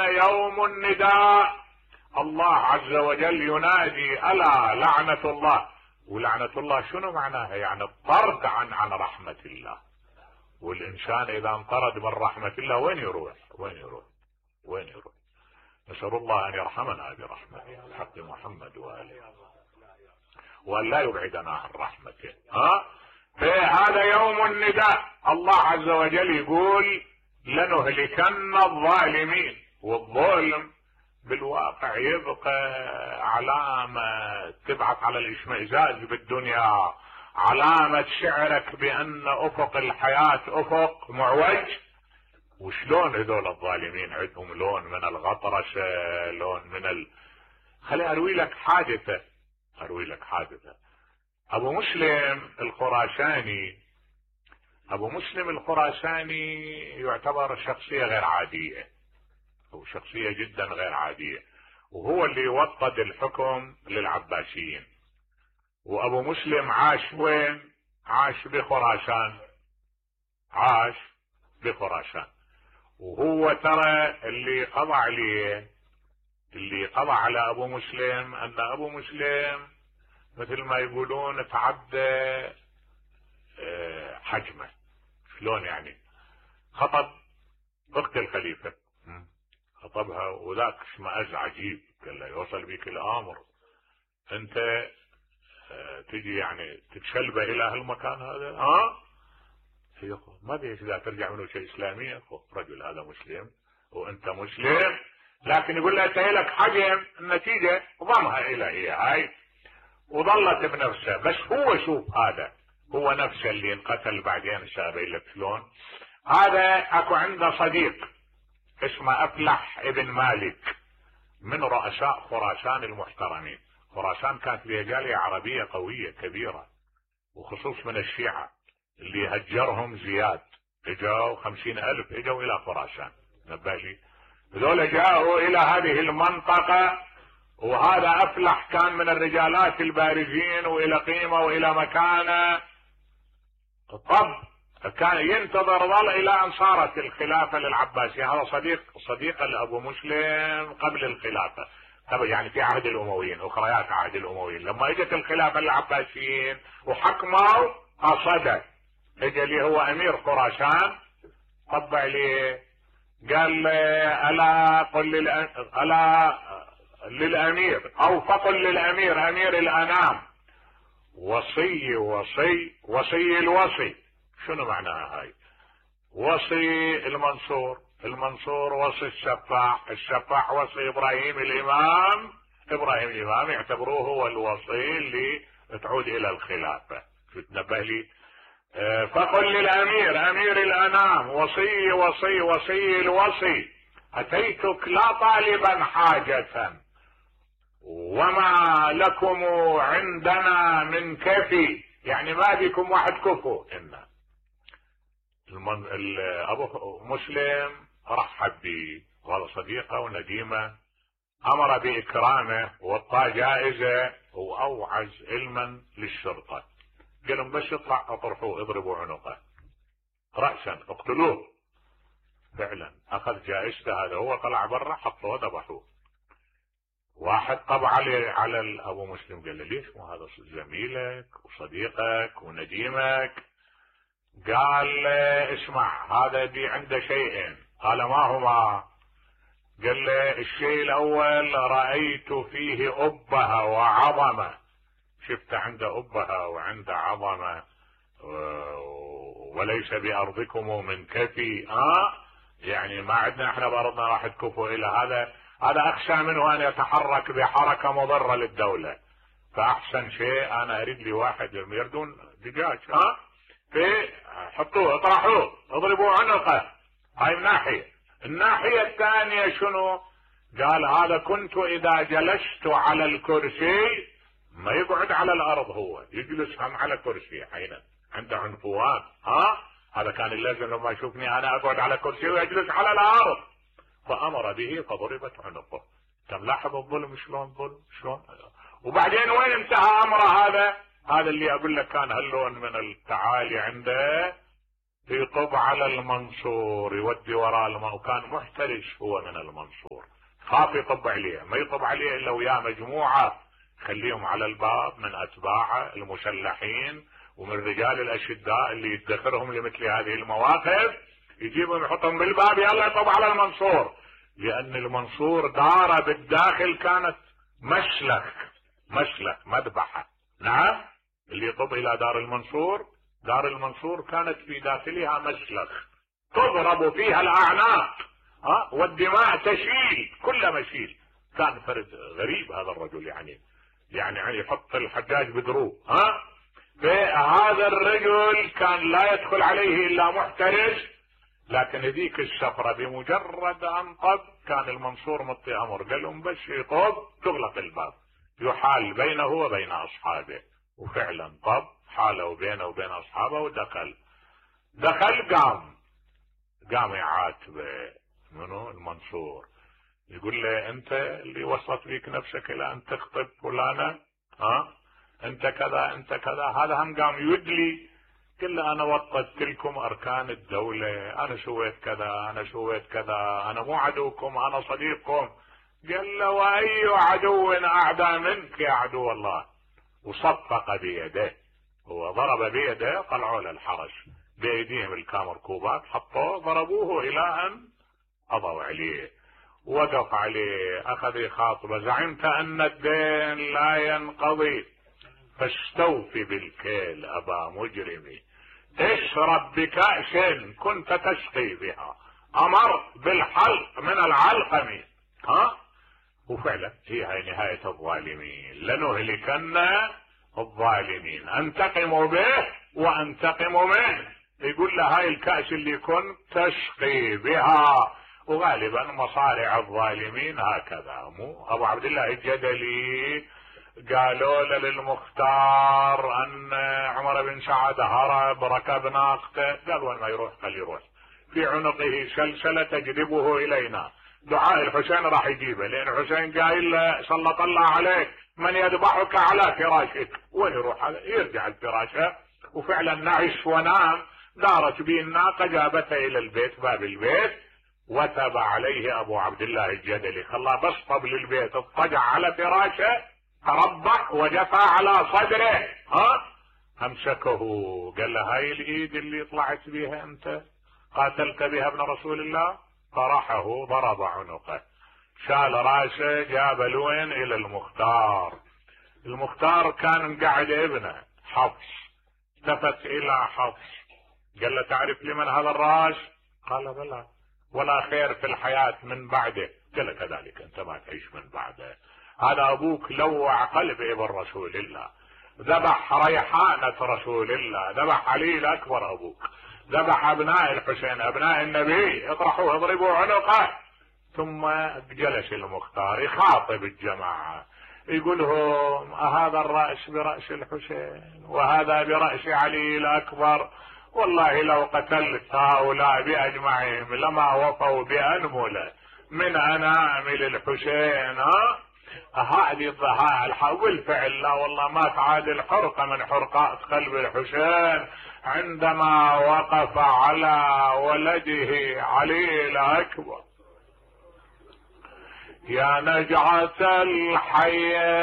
يوم النداء. الله عز وجل ينادي الا لعنة الله. ولعنة الله شنو معناها؟ يعني الطرد عن رحمة الله. والانسان اذا انطرد من رحمة الله وين يروح؟ نسأل الله ان يرحمنا برحمته بحق محمد واله، وان لا يبعدنا عن رحمته. فهذا يوم النداء. الله عز وجل يقول لنهلكن الظالمين. والظلم بالواقع يبقى علامة تبعث على الاشمئزاز بالدنيا، علامة شعرك بان افق الحياة افق معوج. وشلون هذول الظالمين عندهم لون من الغطرسة، لون من خلي اروي لك حادثة. ابو مسلم الخراساني يعتبر شخصية غير عادية، او شخصية جدا غير عادية، وهو اللي وطد الحكم للعباسيين. وابو مسلم عاش وين؟ عاش بخراسان. وهو ترى اللي قضى على ابو مسلم ان ابو مسلم مثل ما يقولون تعدى حجمه. شلون يعني؟ خطب اخت الخليفة، خطبها وذاك اشمئز عجيب، قال له يوصل بيك الامر انت تجي يعني تتشلبه الى هالمكان هذا؟ ما بيش اذا ترجع منه شيء اسلامي. رجل هذا مسلم وانت مسلم، لكن يقول له انت لك حجم، النتيجة ضمها الى هاي وظلت بنفسه. بس هو شوف، هذا هو نفسه اللي انقتل بعدين. سابين لك شلون؟ هذا اكو عنده صديق اسمه افلح ابن مالك من رؤساء خراسان المحترمين. خراسان كانت فيها جالية عربية قوية كبيرة، وخصوص من الشيعة اللي هجرهم زياد، اجوا 50,000 اجوا الى خراسان. نبالي هذول جاءوا الى هذه المنطقة، وهذا افلح كان من الرجالات البارزين والى قيمة والى مكانة. طب كان ينتظر ظل الى ان صارت الخلافة للعباسية. هذا صديق لابو مسلم قبل الخلافة، يعني في عهد الامويين، اخريات عهد الامويين. لما اجت الخلافة للعباسيين وحكموا قصده، اجى اللي هو امير خراسان، طبع لي قال الا قل للامير او فقل للامير امير الانام وصي الوصي. شنو معناها هاي؟ وصي المنصور وصي السفاح وصي ابراهيم الامام يعتبروه هو الوصي اللي تعود الى الخلافة. شو تنبه لي؟ فقل للامير امير الانام وصي الوصي اتيتك لا طالبا حاجة وما لكم عندنا من كفي. يعني ما بكم واحد كفو. ان ابو مسلم رحب به، وهذا صديقه ونديمه، امر باكرامه واعطاه جائزة واوعز علما للشرطة. قال لهم بس يطلع اطرحوه اضربوا عنقه رأسا اقتلوه. فعلا اخذ جائزته. هذا هو طلع برا، حطوه ذبحوه. واحد طبع على ابو مسلم قال له ليش؟ مو هذا زميلك وصديقك ونديمك. قال اسمع، هذا دي عنده شيئين. قال ما هما؟ قال له الشيء الاول رأيت فيه أبهة وعظمة. شفت عنده أبهة وعنده عظمة، وليس بأرضكم من كفي. يعني ما عندنا احنا بأرضنا راح تكفوا الى هذا اخشى منه ان يتحرك بحركة مضرة للدولة. فاحسن شيء انا اريد لي واحد يردون دجاج. حطوه اطرحوه اضربوا عنقه. هاي من ناحية. الناحية الثانية شنو؟ قال هذا كنت اذا جلست على الكرسي ما يقعد على الارض، هو يجلس هم على كرسي. حين عنده عنفوان. هذا كان اللازم لما يشوفني انا اقعد على كرسي ويجلس على الارض. فامر به فضربت عنقه. كم لاحظ الظلم شلون ظلم شلون. وبعدين وين انتهى امره؟ هذا اللي اقول لك كان هاللون من التعالي عنده. يطب على المنصور، يودي وراء وكان محترس هو من المنصور، خاف يطب عليه، ما يطب عليه الا وياه مجموعة خليهم على الباب من اتباعه المسلحين ومن رجال الاشداء اللي يدخرهم لمثل هذه المواقف، يجيبهم يحطهم بالباب يلا يطب على المنصور، لان المنصور داره بالداخل كانت مشلخ مذبحة. نعم، اللي يطب الى دار المنصور كانت في داخلها مشلخ تضرب فيها الاعناق والدماء تشيل كل مشيل. كان فرد غريب هذا الرجل، يعني يحط الحجاج بدروب. فهذا الرجل كان لا يدخل عليه الا محترس، لكن ذيك السفرة بمجرد ان طب كان المنصور مطي امر، قال لهم بس يطب تغلق الباب، يحال بينه وبين اصحابه، وفعلا طب حاله بينه وبين اصحابه ودخل قام يعاتبه منو المنصور، يقول له انت اللي وصلت بيك نفسك الى ان تخطب فلانة، انت كذا. هذا هم قام يدلي، قال له انا وطدت لكم اركان الدولة، انا سويت كذا، انا مو عدوكم انا صديقكم. قال له واي عدو اعدى منك يا عدو الله، وصفق بيده، هو ضرب بيده، طلعوا له الحرس بايديهم الكامركوبات، حطوه ضربوه الى ان قضوا عليه، وقف عليه اخذ يخاطبه، زعمت ان الدين لا ينقضي فاستوفي بالكيل ابا مجرمي، اشرب بكأس كنت تسقي بها، امر بالحلق من العلقم. وفعلا هي نهاية الظالمين، لنهلكن الظالمين، انتقم به وانتقم منه. يقول له هاي الكأس اللي كنت تسقي بها، وغالبا مصارع الظالمين هكذا. مو ابو عبد الله الجدلي قالوا له للمختار ان عمر بن سعد هرب ركب ناقته، قال وين ما يروح خليه يروح، في عنقه سلسلة تجذبه الينا، دعاء الحسين راح يجيبه، لان الحسين قايل له سلط الله عليك من يذبحك على فراشك، وين يروح هذا؟ يرجع الفراشه. وفعلا نعش ونام، دارت به الناقه جابته الى البيت، باب البيت، وتب عليه ابو عبد الله الجدلي، خلاه بس طبل البيت، اضطجع على فراشه، تربع وجفى على صدره، امسكه قال له هاي الايد اللي طلعت بها انت قاتلت بها ابن رسول الله، طرحه ضرب عنقه، شال راسه، جاب لوين الى المختار كان مقعد ابنه حفص، التفت الى حفص قال له تعرف لمن هذا الراس؟ قال بلى، ولا خير في الحياة من بعده. قال له كذلك انت ما تعيش من بعده، هذا ابوك لوع قلب ابن رسول الله، ذبح ريحانة رسول الله، ذبح علي الاكبر ابوك، ذبح ابناء الحسين ابناء النبي، اطرحوه اضربوا عنقه. ثم جلس المختار يخاطب الجماعة، يقولهم هذا الرأس برأس الحسين وهذا برأس علي الأكبر، والله لو قتلت هؤلاء بأجمعهم لما وفوا بأنملة من أنامل الحسين. هذه الضحايا بالفعل لا والله ما تعادل حرقة من حرقات قلب الحسين عندما وقف على ولده علي الأكبر. يا نجعة الحياة